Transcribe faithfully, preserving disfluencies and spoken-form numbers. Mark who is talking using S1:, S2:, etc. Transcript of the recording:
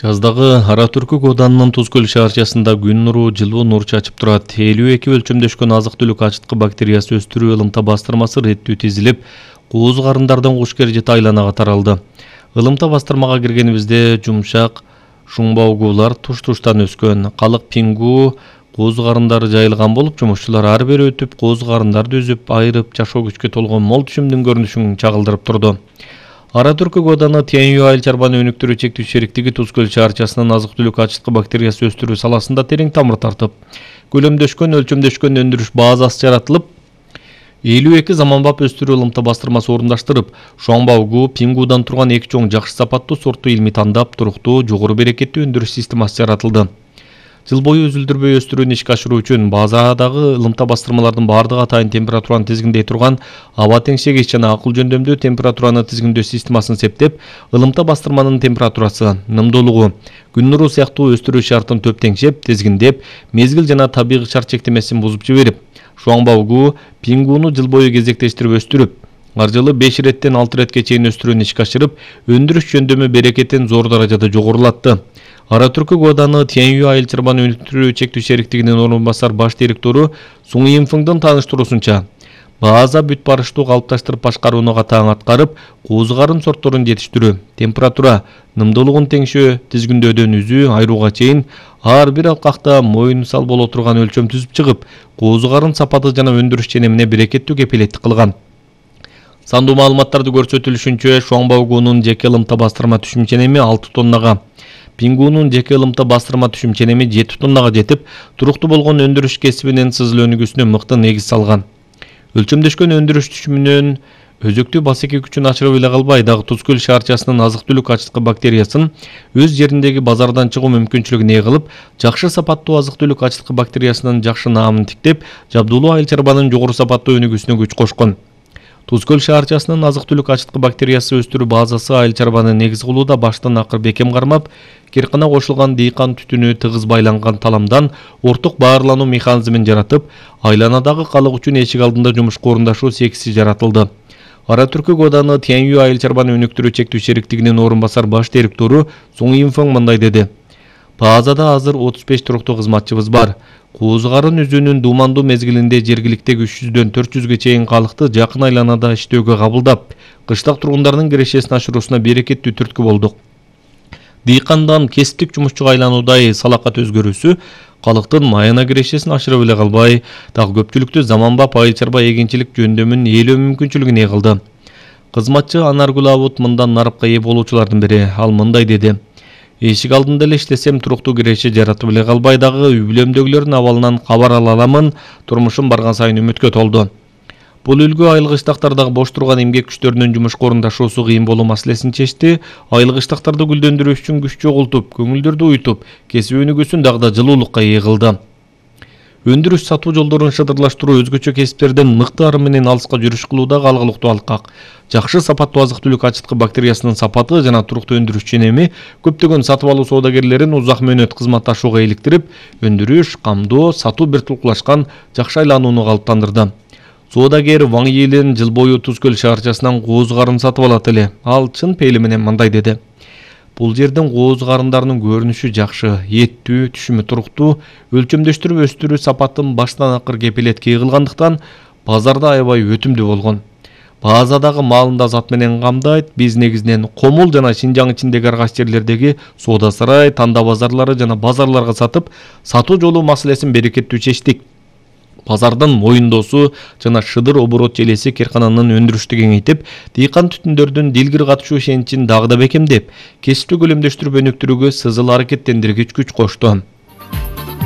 S1: Жаздагы Ара-Түркүк Оданынын Туз көл шаарчасында күн нуру жылуу нур чачып турат. элүү эки өлчөмдөшкөн азык-түлүк ачыткы бактериясы өстүрүү ылымта бастырмасы реттүү тизилип, кооз карындардан куш кережет айланага таралды. Ылымта бастырмага киргенибизде жумшак шуңбаугулар туш-туштан өскөн. Калык пингу кооз карындары жайылган болуп, жумушчулар ар бери өтүп, кооз карындарды үзүп, айрып, жашоо күчкө толгон мол түшүмдүн көрүнүшүн чагылдырып турду. Ара-Түркүк Оданы Тиянью айыл чарбаны өнүктүрүү чектүү шериктиги Туз көл шаарчасынын азык-түлүк ачыткы бактериясы өстүрүү саласында терең тамыр тартып, көлөмдөшкөн, өлчөмдөшкөн өндүрүш базасы жаратылып, элүү эки заманбап өстүрүү ылымта бастырмасы орундаштырып, шуңбаугу, пингудан турган эки чоң жакшы сапаттуу сортту илмий тандап, туруктуу, жогору берекеттүү өндүрүш системасы жаратылды. Жыл бою үзүлдүрбөй өстүрүүнү ишке ашыруу үчүн базадагы ылымта бастырмалардын бардыгы атайын температураны тизгиндей турган аба теңшегич жана акыл жөндөмдүү температураны тизгиндөө системасын септеп, ылымта бастырманын температурасы, нымдуулугу, күн нуру сыяктуу өстүрүү шартын төп теңшеп, тизгиндеп, мезгил жана табигый шарт чектемесин бузуп жиберип, шуңбаугу, пингуну жыл бою кезектештирип өстүрүп, ар жылы беш иреттен алты иретке чейин өстүрүүнү ишке ашырып, өндүрүш жөндөмү берекетин зор даражада жогорулатты. Ара-Түркүк Оданы Тиянью айыл чарбаны өнүктүрүү чектүү шериктигинин орун басар баш директору Суң Имфыңдын тааныштыруусунча, база бүт барыштуу калыпташтырып башкарууну катаң аткарып, кооз карын сортторун жетиштирүү, температура, нымдуулугун теңшөө, тизгиндөөдөн үзүү, айрууга чейин ар бир алкакта моюн сал боло турган өлчөм түзүп чыгып, кооз карын сапаты жана өндүрүш ченемине берекеттүү кепилеттик кылган. Сандуу маалыматтарды көрсөтүлүшүнчө, шуңбаугунун жеке ылымта бастырма түшүм ченеми алты тоннага, пингунун жеке ылымта бастырма түшүм ченеми жети тоннага жетип, туруктуу болгон өндүрүш кесибинин сызыл өнүгүүсүнө мыкты негиз салган. Өлчөмдөшкөн өндүрүш түшүмүнүн өзөктүү басеки күчүн ачырып эле калбай, дагы Туз көл шаарчасынын азык-түлүк ачыткы бактериясын өз жериндеги базардан чыгуу мүмкүнчүлүгүн ээ кылып, жакшы сапаттуу азык-түлүк ачыткы бактериясынын жакшы наамын тиктеп, жабдуулуу айыл чарбанын жогору сапаттуу өнүгүүсүнө күч кошкон. Туз көл шаарчасынын азык-түлүк ачыткы бактериясы өстүрүү базасы айыл чарбаны негиз кылууда баштан акыр бекем кармап, киркана кошулган дыйкан түтүнү тыгыз байланган таламдан орток баарлануу механизмин жаратып, айланадагы калык үчүн эшик алдында жумушка орундашуу секиси жаратылды. Ара-Түркүк Оданы Тиянью айыл чарбаны өнүктүрүү чектүү шериктигинин орун басар баш директору Суң Имфың мындай деди: Базада азыр отуз беш туруктуу кызматчыбыз бар. Кооз карын үзүүнүн дуумандуу мезгилинде жергиликтеги үч жүздөн төрт жүзгө чейин калыкты жакын айланада иштөөгө кабылдап, кыштак тургундардын кирешесин ашыруусуна берекеттүү түрткү болдук. Дыйкандан кесиптик жумушчуга айлануудай салакат өзгөрүүсү калыктын майына кирешесин ашырып эле калбай, дагы көпчүлүктү заманбап айыл чарба эгинчилик жөндөмүн ээлөө мүмкүнчүлүгүн ээ кылды. Кызматчы Анаргүл Абут мындан нарыпка ээ болуучулардын бири. Ал мындай деди: Эшик алдында эле иштесем, туруктуу киреше жаратып эле калбай, дагы үй бүлөмдөгүлөрдүн абалынан кабар ала аламын, турмушум барган сайын үмүткө толду. Бул үлгү айыл кыштактардагы бош турган эмгек күчтөрүнүн жумушка орундашуусу кыйын болуу маселесин чечти, айыл кыштактарды гүлдөндүрүү үчүн күч чогултуп, көңүлдөрдү уютуп, кесип өнүгүүсүн дагы да жылуулукка ээ кылды. Өндүрүш сатуу жолдорун шыдырлаштыруу, өзгөчө кесиптерден мыкты ары менен алыска жүрүш кылуудагы алгылыктуу алкак. Жакшы сапаттуу азык-түлүк ачыткы бактериясынын сапаты жана туруктуу өндүрүш ченеми көптөгөн сатып алуу соодагерлерин узак мөөнөт кызматташууга иликтирип, өндүрүш, камдоо, сатуу биртукташкан жакшы айланууну калыптандырды. Соодагер Ваң Йилен жыл бою Туз көл шаарчасынан кооз карын сатып алат эле. Ал чын пейили менен мындай деди: Бул жердин кооз карындарынын көрүнүшү жакшы, эттүү, түшүмү туруктуу, өлчөмдөштүрүп өстүрүү сапатын баштан акыр кепилетке кылгандыктан базарда аябай өтүмдүү болгон. Базадагы маалын да зат менен камдайт. Биз негизинен Комул жана Шинжаң ичиндеги ар кайсы жерлердеги соода сарай, танда базарлары жана базарларга сатып, сатуу жолу маселесин берекеттүү чечтик. Базардын моюндоосу жана шыдыр оборот желеси киркананын өндүрүштү кеңейтип, дыйкан түтүндөрдүн дилгир катышуу ишеничин дагы да бекемдеп, кесипти көлөмдөштүрүп өнүктүрүүгө сызыл аракеттендиргич күч кошту.